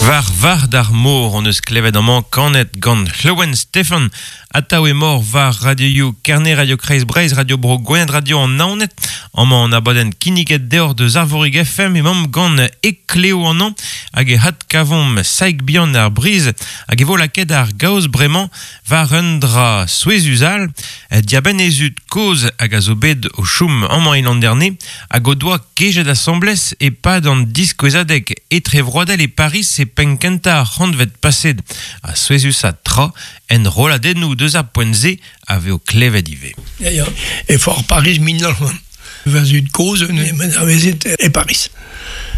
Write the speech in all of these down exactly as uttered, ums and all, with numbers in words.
War var d'ar mor on eus klevet amañ kanet gant Lleuwen Steffan atav e mor war radioioù Kerne, Radio Kreiz Breizh, Radio Bro Gwened, Radio an Naoned. Amañ an abadenn kinniget deoc'h deus Arvorig F M emaomp gant Ekleo an an hag e had kavomp Saig Bihan ar Briz hag e vo lakaet ar gaoz bremañ war un dra souezhus all diabenn e zud kozh hag a zo bet o chom amañ e Landerne hag o doa kejet asambles e-pad an diskouezadeg etrevroadel e Paris e penn kentañ ar c'hantved paset a souezhus a tra en rolladennoù deus ar poent-se a vez o klevet ivez. Ya, ya. E foar Paris mil nav c'hant. Va zud kozh en a vezet e Paris.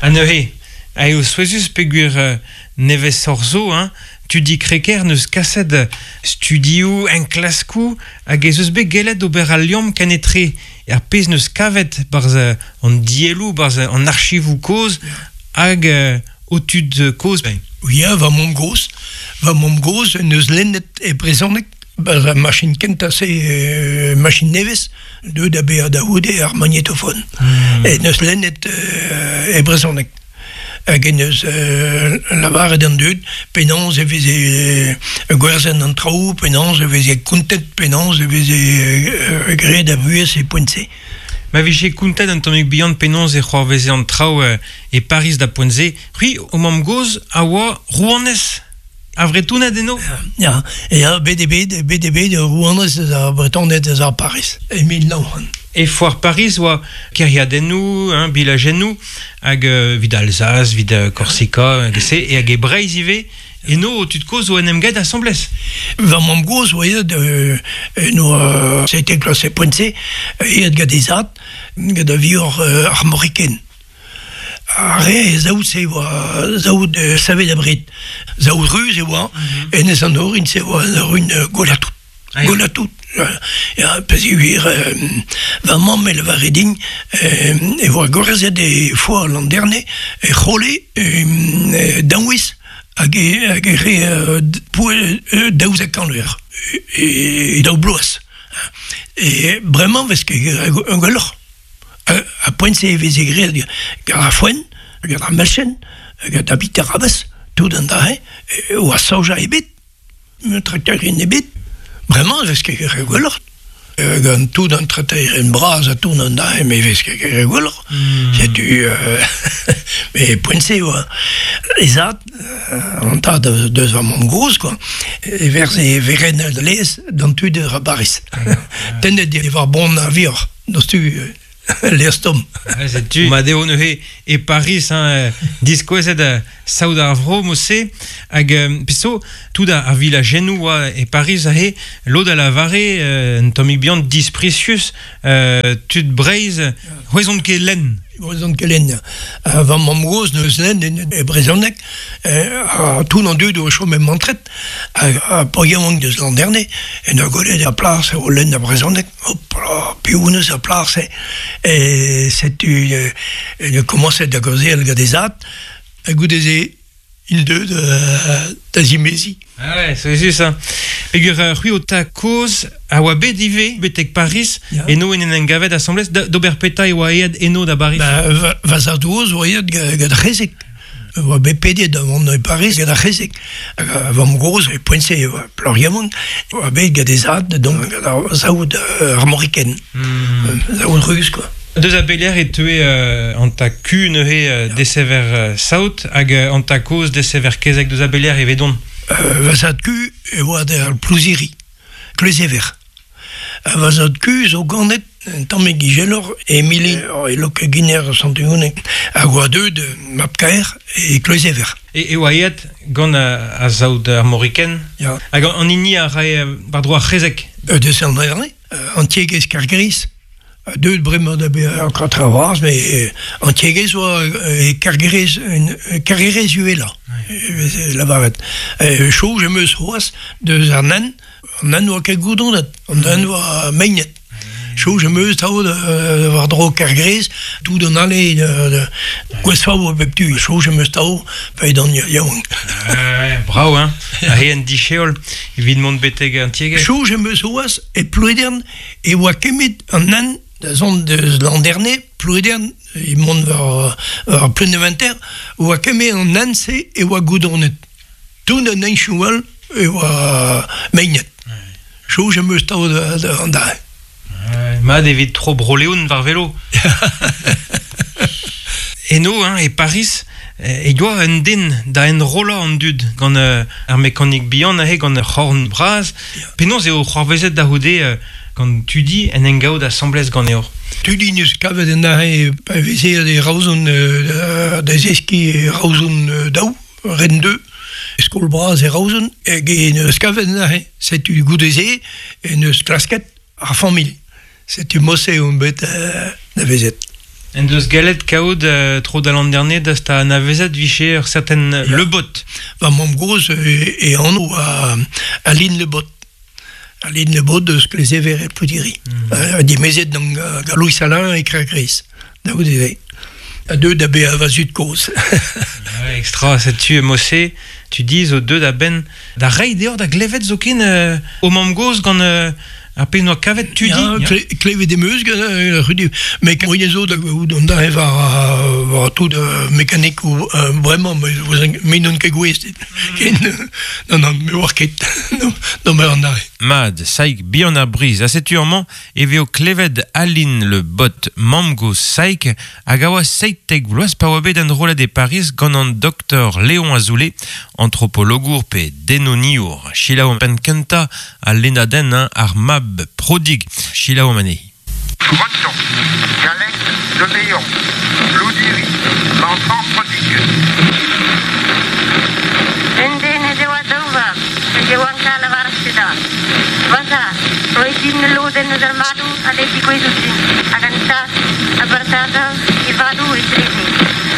Ha neuze, a eo souezhus peogwir euh, nevez zo, hein, tudi kreker neus kaset studioù, enklaskoù, hag ez eus bet gellet ober al liamm kenetre ar pezh neus kavet barzh an dielloù, barzh an archivoù kozh, hag euh, o tud kozh. Ben. Ya, va mamm gozh. Va mamm gozh neus lennet e brezhoneg. Ba ar machin kentañ se euh, machin nevez, deuet da bezañ da c'houde ar magnétophone. Mm. E neus lennet euh, e brezhoneg. Hag en eus euh, lavaret an dud, penaos e veze euh, gwerzhet an traoù, penaos e veze kontet, penaos e veze euh, graet a vuhez e poent-se. Ma vije kontet an tammig bihan penaos e c'hoarveze an traoù euh, e Paris da poent-se. C'hwi, o mamm gozh a oa rouanez a Vretoned eno? Ya, ya, bet eo bet, bet eo bet rouanez eus ar Bretoned eus ar Paris, e mil nav c'hant. E foar Paris oa kêriadennoù, hein, bilajennoù, hag euh, vid Alsace, vid euh, Korsika, hag se, e hag e Breizh ivez, eno o tud kozh o en em gaet asambles. Va mamm gozh oa aet euh, eno euh, c'était klas e poent-se, aet gant he zad, gant a vioc'h euh, armoriken. Ar re e zaout se oa zaout euh, savet abred. Zaout ruz e oa, Mm-hmm. enez an orin se oa an orin euh, golatout. Ah, ya. Golatout. Ya, peogwir euh, va mamm e lavare din euh, e oa gwerzhet e foar Landerne e c'hole euh, daouez hag e, hag e re euh, poe, euh, daouzek kant eur e, e daou bloaz. E bremañ vez ket un gwelloc'h. A poent-se e veze graet gant ar foenn, gant ar melchen, gant ar biterabez, tout an dra-se, oa soja ebet, traktorien ebet. Bremañ e vez ket graet gwelloc'h. Gant tout an traktorien bras ha tout an dra-se, me vez ket graet gwelloc'h. Mm. Setu, euh, me poent-se oa e zad, an tad deus va mamm gozh, quoi, e verze e veren lez d'an tud ar Paris. Tennet e war bon a vioc'h, deus tu lez tomm. Ah, setu, ma deo neuze e Paris, hein, diskouezet euh, saout ar vro mod-se, hag euh, peso, tout ar, ar vilajennoù oa e Paris aze, lod a lavare, euh, un tammig bihan disprisius, euh, tud Breizh, c'hwezont ket lenn. C'hwezont ket lenn. Uh, va mamm gozh neus lenn en, e brezhoneg, euh, ha tout an dud o chom e mantret, hag a pa yaouank deus Landerne, en ur gwelet ar plas o lenn ar brezhoneg, hop là, piv neus ar plas, e setu euh, en ur komañset da gaozeal gant e zad, hag goude-se int deuet euh, da zimeziñ. Ah ouais, c'est juste ça. Peogwir euh, c'hwi o ta kozh a oa bet ivez betek Paris, Ya. eno en en gavet asambles, da- d'ober peta e oa aet eno da Paris. Ba, va, va zad gozh oa aet ga- gant ar c'hezeg. Oa bet pedet da vont e Paris gant ar c'hezeg. Hag a vamm gozh e poent-se oa plac'h yaouank, oa bet gant he zad, donc gant ar saout euh, armoriken. Mm. Saout ruz, quoi. Deus a beler e teue euh, an ta ku neuze euh, desever euh, saout hag euh, an ta kozh desever kezeg deus a beler e vedon. Euh, va zad ku e oa d'ar Plouziri, Kleuzever. Ha va zad ku zo ganet un tammig ijeloc'h e Milin, e Lok-Giner Sant-Ugonek, hag oa deuet mab-kaer e Kleuzever. E, e oa aet gant a, a saout armoriken. Ya. Hag an, an hini a rae euh, war-dro ar c'hezeg. Euh, deus an Landerne, euh, an tiegezh Kargriz. Deuet bremañ da bezañ ur katra vras, mais euh, an tiegezh oa euh, e Kargriz, un Kargriz uhelañ, e veze lavaret. Euh, Choj em eus c'hoazh deus ar nen, an nen oa ket goudronet, an nen oa meinet. Choj em eus tao euh, war-dro Kargriz, tout an ale de, de gwezfav a bep tu. Choj em eus tao, pa edan yaouank. Euh, bravo, hein. A he en dicheol, evit mont betek an tiegezh. Choj em eus c'hoazh e Plouedern e oa kemet an nen da zont deus Landerne Plouedern, e mont war, war Pleneventer, oa keme an hent-se e oa goudonet. Tout an henchoù all e oa meinet. Choj am eus tao an da. Mat evit tro Bro-Leon war velo. Eno, hein, e Paris, e doa un den da enrollañ an dud gant euh, ar mekanik bihan aze gant ur c'horn bras. Penaos eo c'hoarvezet da c'houde euh, gant Tudi en engaout asambles ganeoc'h. Tudi neus kavet en aze pa veze e Raozon euh, da zeski Raozon euh, daou, ren deux, skol bras e Raozon, hag e neus kavet en aze. Setu goude-se e neus klasket ar familh. Setu mose on bet euh, da vezet. En deus gallet kaout euh, tro da l'an dernier da sta anavezet viche ur certain ja. Le Bot. Va mamm gozh e, e anv a, Aline Le Bot. Aline Le Bot deus Klezever e Ploudiri. Mm. Uh, dimezet gant uh, Louis Salin e Krakris. Da goude A deux da be a va zud kozh. Ouais, extra, setu mose, tu dis o deux da ben da rei deoc'h da glevet zoken euh, o mamm gozh gant euh, ar pezh noa kavet Tudi. Ja, kle, klevet em eus gant euh, rudi. Mais moyen zo da gavout an da war, war tout euh, mekanik ou euh, bremañ, me n'on ket gouest. Ken, non, non, me oar ket. Non, non, me an arre. Mad, Saik bihan ar briz. A setu amañ e veo klevet Aline Le Bot mamm gozh Saik hag a oa seitek vloaz pa oa bet enrollet e Paris gant an doktor Léon Azoulay, antropologour pe denoniour. Selaou penn kentañ al lennadenn hein, ar mab prodig. Selaou anezhi. Breton, dialecte de Léon, Ploudiri, l'enfant prodigue. Un den ez eo a daou vab, hag e oant kal war ar seda. Vaza, roit din ul lodenn eus ar madoù a lez digouezhout din, hag an tad a bartadas e vadoù etreze.